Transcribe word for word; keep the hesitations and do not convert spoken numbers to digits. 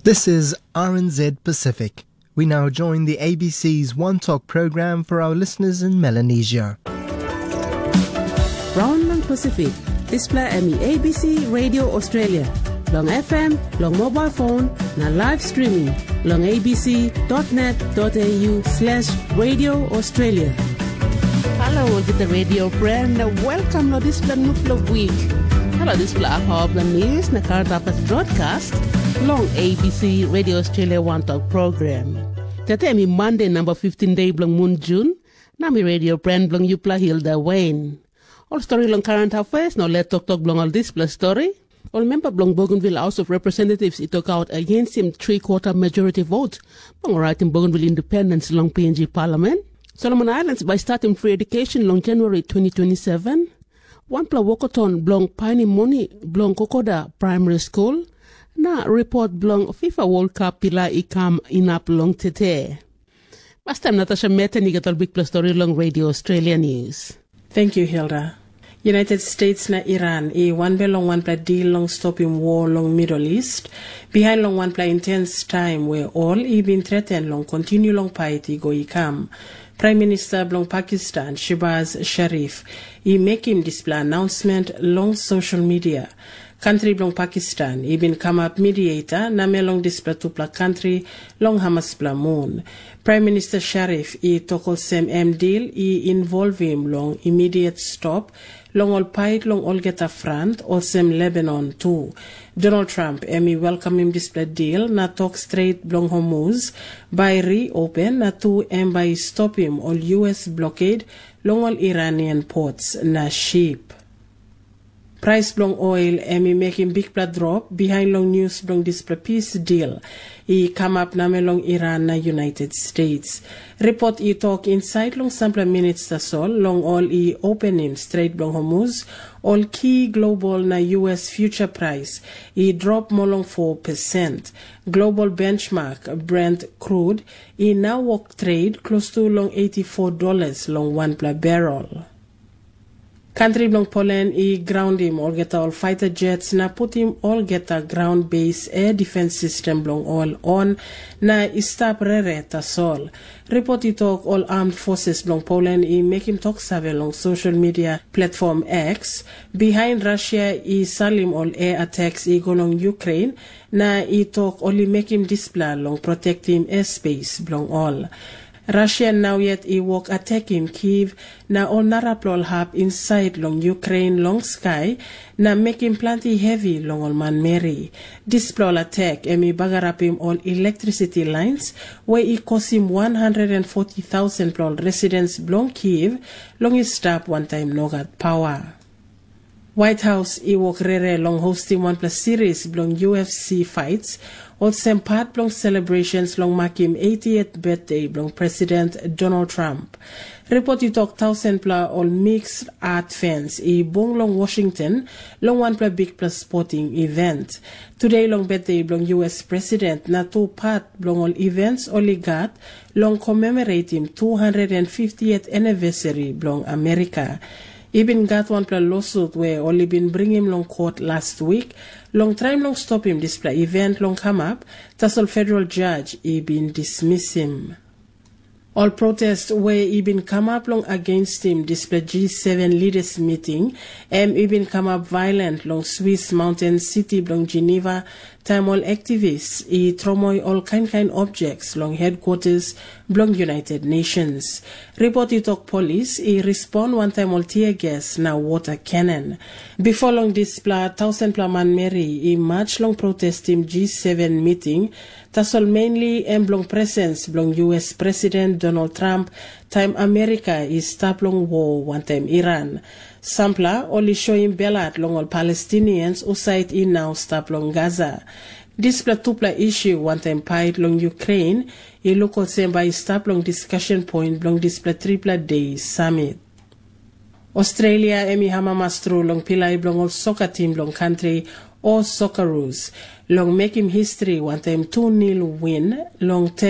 This is R N Z Pacific. We now join the A B C's One Talk program for our listeners in Melanesia. Raun long Pacific, dispela em i A B C Radio Australia, long F M, long mobile phone, na live streaming long A B C dot net dot A U slash Radio Australia. Halo olgeta radio friend, na welcome lo dispela nupela week. Halo dispela apawa bilong news na current affairs broadcast long A B C Radio Australia One Talk program. Tete mi Monday number fifteen day bilong mun Jun, na mi radio friend bilong yupela Hilda Wayne. Ol stori long current affairs na let toktok bilong ol dispela stori. Ol memba bilong Bougainville House of Representatives i tokaut against him three quarter majority vote bilong raitim Bougainville independence long P N G Parliament. Solomon Islands bai statim free education long January twenty twenty-seven. Wanpela wokoton bilong painim moni bilong Kokoda Primary School, na report bilong FIFA World Cup pilai i kam inap long tete. Pastaim Natasha Meten i gat ol bikpela stori long Radio Australia News. Thank you, Hilda. United States na Iran i wanbel long wanpela dil long stopim war long Middle East, bihain long wanpela intens taim we ol i bin threaten long kontinu long pait i go i kam. Prime Minister bilong Pakistan, Shehbaz Sharif, i mekim dispela announcement long social media. Kantri bilong Pakistan i bin kamap mediator namel long dispela tupela kantri long hamaspela mun. Prime Minister Sharif i tok olsem em dil i involvim long immediate stop long ol pait long olgeta front, olsem Lebanon tu. Donald Trump em i welkamim dispela dil na tok stret bilong Hormuz bai reopen, na tu em bai i stopim ol U S blockade long ol Iranian ports na ship. Prais bilong oil em i mekim bikpela drop bihain long nius bilong dispela pis dil i kamap namel long Iran na United States. Ripot i tok insait long sampela minit tasol long ol i openim Stret bilong Hormuz, ol ki global na U S future price i drop moa long four percent. Global benchmark Brent crude i nau wok trade klostu long eighty-four dollars long wanpela barrel. Kantri bilong Poland i graundim olgeta ol fighter jets na putim olgeta ground base air defense system bilong ol on na i stap rere tasol. Ripot i tok ol armed forces bilong Poland i mekim tok save long social media platform X, bihain Russia i salim ol air attacks i go long Ukraine, na i tok ol i mekim dispela long protektim airspace bilong ol. Russia nau yet i wok atekim Kyiv na ol narapela ol hap insait long Ukraine long skai, na mekim planti hevi long ol manmeri. Dispela ol atak em i bagarapim ol electricity lines, we i kosim one hundred and forty thousand pela ol residents bilong Kyiv long i stap wantaim nogat pawa. White House i wok rere long hostim wanpela series bilong U F C fights, olsem pat bilong celebrations long makim eightieth birthday bilong President Donald Trump. Ripot i tok tausenpela ol mixed art fans i bung long Washington long wanpela bikpela sporting event. Today long birthday bilong U S President na tu pat bilong ol events ol i gat long commemorating two hundred and fiftieth anniversary bilong Amerika. I bin gat wanpela lawsuit we ol i bin bringim long kot last week long traim long stopim dispela event long kamap, tasol federal judge i bin dismisim. Ol protest we i bin kamap long agenstim dispela G seven leaders meeting, em i bin kamap violent long Swiss mountain city bilong Geneva, taim ol activists i tromoi ol kain kain objects long headquarters bilong United Nations. Ripot i tok polis i respond wantaim ol tear gas na water cannon. Bipo long dispela, tausenpela manmeri i march long protestim G seven meeting, tasol mainly em bilong presens bilong U S President Donald Trump taim Amerika i stap long war wantaim Iran. Sampela ol i soim belhat long ol Palestinians husat i nau stap long Gaza. Dispela tupela issue wantaim pait long Ukraine i luk olsem bai i stap long discussion point bilong dispela tripela de summit. Australia em i amamas tru long pilai bilong ol soka tim bilong kantri, o Socceroos, long mekim history wantaim tu nil win long